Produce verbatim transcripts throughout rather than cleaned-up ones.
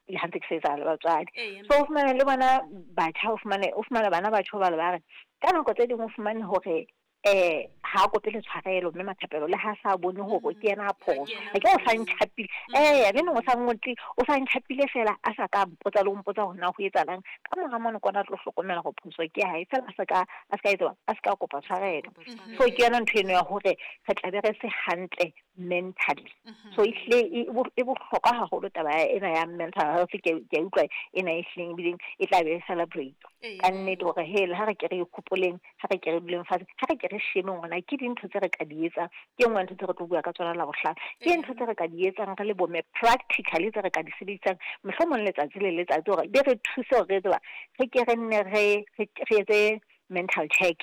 Le ha ntse ke sebetsa le batswadi, so o fumane le bona batjha, o fumane o fumane bana batjha ba le ba re ka nako tse ding o fumane hore eh ha a kope le tshwarelo, mme Mathapelo, le ha sa bone hore ke yena a phoso. A ke o sa ntjhapile, eh le neng o sa ngotle, o sa ntjhapile fela, a sa ka mpotsa le ho mpotsa hore na ho etsahalang. Ka mora mono kona tlo hlokomela hore phoso ke ya hae, fela a sa ka a ska etsa a ska kopa tshwarelo. So ke yona ntho eno ya hore re tla be re se hantle mentally. So ehlile e bohlokwa haholo taba ena ya mental health. Ke ke utlwa ena e hlileng ebileng e tla be e celebrate ka nnete, hore he, le ha re ke re ikgopoleng, ha re ke re duleng fatshe, ha re ke re shebeng hore na ke dintho tse re ka di etsang. Ke e nngwe ya ntho tse re tlo bua ka tsona Labohlano, ke ntho tse re ka di etsang re le bomme practically, tse re ka di sebedisang mohlomong letsatsi le letsatsi, hore di re thuse hore re tseba re ke re nne re re etse mental check,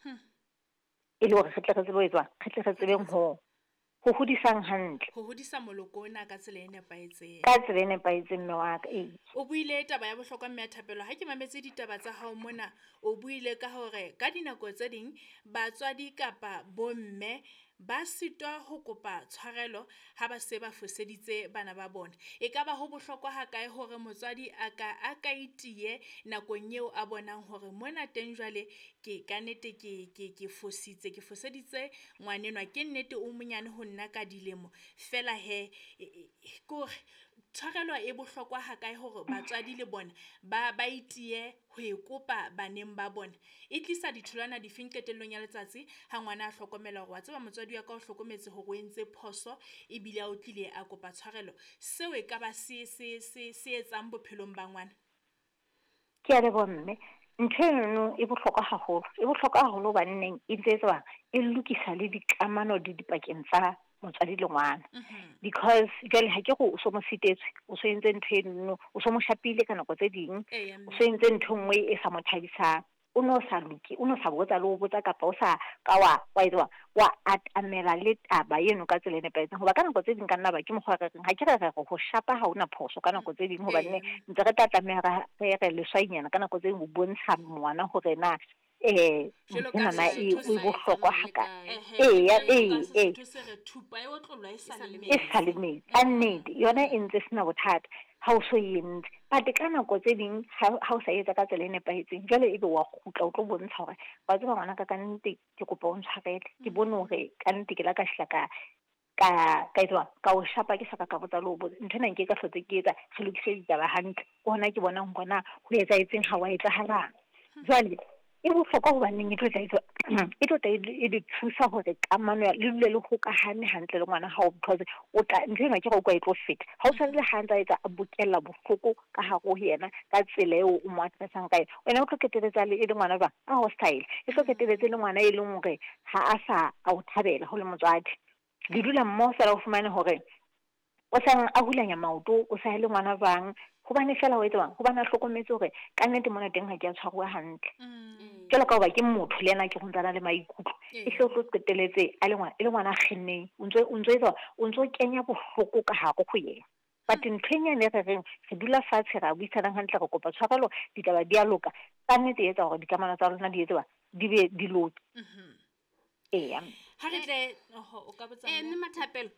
e le hore re tle re tsebe ho etswa, re tle re tsebeng ho ho hodisang hantle. Ho hodisa moloko ona ka tsela e nepahetseng. Ka tsela e nepahetseng, mme wa ka, ee. O buile taba ya bohlokwa, mme ya Thapelo. Ha ke mametse ditaba tsa hao mona, o buile ka hore ka dinako tse ding batswadi kapa bomme ba sitwa ho kopa tshwarelo ha ba se ba foseditse bana ba bona. E ka ba ho bohlokwa ha kae hore motswadi a ka a ka itiye nakong eo a bonang hore mona teng jwale ke ka nnete ke ke ke fositse, ke foseditse ngwanenwa? Ke nnete o monyane ho nna ka dilemo, fela he, kore tshwarelo e bohlokwa ha kae hore batswadi le bona ba ba itiye ho e kopa baneng ba bona? E tlisa ditholwana difeng qetellong ya letsatsi ha ngwana a hlokomela hore wa tseba motswadi wa ka o hlokometse hore o entse phoso, ebile a o tlile a kopa tshwarelo? Seo e ka ba se se se se etsang bophelong ba ngwana? Ke a leboha, mme. Ntho eno e bohlokwa haholo, e bohlokwa haholo hobaneng e ntse etswa e lokisa le dikamano di dipakeng tsa motswadi le ngwana, because jwale ha ke re o so mo sitetswe, o so entse ntho eno, o so mo shapile ka nako tse ding, o so entse ntho e nngwe e sa mo thabisang, o no sa loke, o no sa botsa le ho botsa, kapa o sa ka wa wa etsa wa atamela le taba eno ka tsela e nepahetseng. Hoba ka nako tse ding ka nna ba ke mokgwa re reng, ha ke re re re ho shapa ha hona phoso ka nako tse ding, hobane ntse re tla tlameha re re leswainyana ka nako tse ding ho bontsha ngwana hore na eh nthwenana e e bohlokwa hakae. Eya, ee, ee, e sa le metsi ka nnete, yona e ntse sena bothata ha o so e entse. But ka nako tse ding ha o sa etsa ka tsela e nepahetseng, jwale ebe wa kgutla o tlo bontsha hore wa tseba ngwanaka, ka nnete ke kopa o ntshwarele, ke bone hore ka nnete ke la ka shla ka ka ka etsa ka o shapa, ke sa ka ka botsa le ho botsa. Ntho ena nke ka hlotse ke etsa, re lokise ditaba hantle, ke hona ke bonang hore na ho etsahetseng, ha wa etsahalang. Jwale e bohlokwa hobaneng e tlo tla e tlo tla e le thusa hore kamano ya le dule le hokahane hantle le ngwana hao, because o tla ntho ena ke re o kwa e tlo feta ha o tshwanele ha ntse a etsa a bokella bohloko ka hare ho yena ka tsela eo o mo addressang ka yona. Wena o tlo qetelletse le e le ngwana jwang a hostile, e tlo qetelletse le ngwana e leng hore ha a sa a o thabela ho le motswadi. Le dula mmoho fela, o fumane hore o sang a hulanya maoto, o sa le ngwana jwang, hobane fela o etsang, hobane a hlokometse hore ka nnete mona teng ha ke a tshwaruwa hantle. Jwalo ka hoba ke motho le yena, ke go ntsana le maikutlo, e hle o tlo qetelletse a le ngwana, e le ngwana a kgenneng, o ntso o ntso etsa o ntso kenya bohloko ka hare ho yena. But ntho e nyane re reng re dula fatshe, ra buisanang hantle, re kopa tshwarelo, ditaba di a loka, ka nnete e etsa hore dikamano tsa lona di etse di be di loke. Eya. Ha re tle oho, o ka botsa. Eh mme Mathapelo,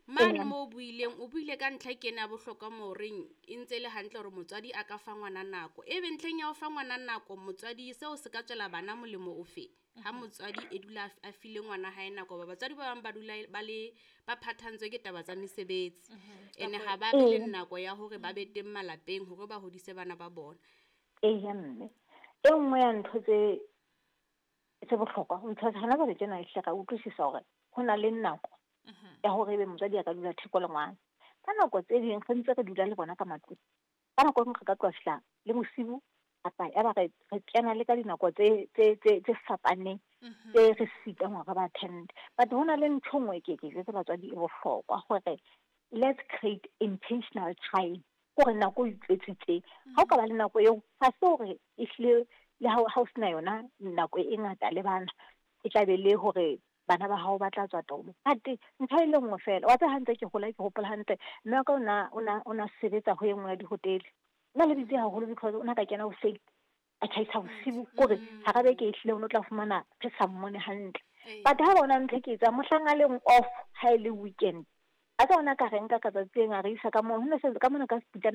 mane mo o buileng, o buile ka ntlha ke ena ya bohlokwa mo reng e ntse e le hantle hore motswadi a ka fa ngwana nako. Ebe ntlheng ya ho fa ngwana nako motswadi, seo se ka tswela bana molemo ofe ha motswadi e dula a file ngwana hae nako? Ba batswadi ba bang ba dula ba le ba phathantswe ke taba tsa mesebetsi, ene ha ba be le nako ya hore ba be teng malapeng hore ba hodise bana ba bona. Eya mme, e nngwe ya ntho tse tse bohlokwa ntho hona jwale tjena, ehlile ra utlwisisa hore ho na le nako ya hore ebe motswadi a ka dula theko le ngwana. Ka nako tse ding re ntse re dula le bona ka matlung, ka nako e nngwe re ka tloha fihla le bosibu, kapa ya ba re re kena le ka dinako tse tse tse tse fapaneng tse re sitang hore re ba attend. But ho na le ntho e nngwe ke ke jwetse batswadi e bohlokwa, hore let's create intentional time, hore nako o itjwetsitseng ha o ka ba le nako eo, ha se hore ehlile le ha o sena yona nako e ngata le bana, e tla be le hore bana ba hao ba tla tswa taolo. But ntho e le nngwe fela, wa tseba ha ntse ke hola, ke hopola hantle, mme wa ka o na o na o na sebetsa ho e nngwe ya dihotele. Nna le busy haholo because o na ka kena hoseng, a tjhaisa bosibu, kore hara beke ehlile o no tla fumana re sa mmone hantle. But ha bona ntho e ke etsang mohlang a leng off, ha e le weekend, a tsa ona ka re nka ka tsatsi leng, a re isa ka moo ho ne se ka mona ka seputana.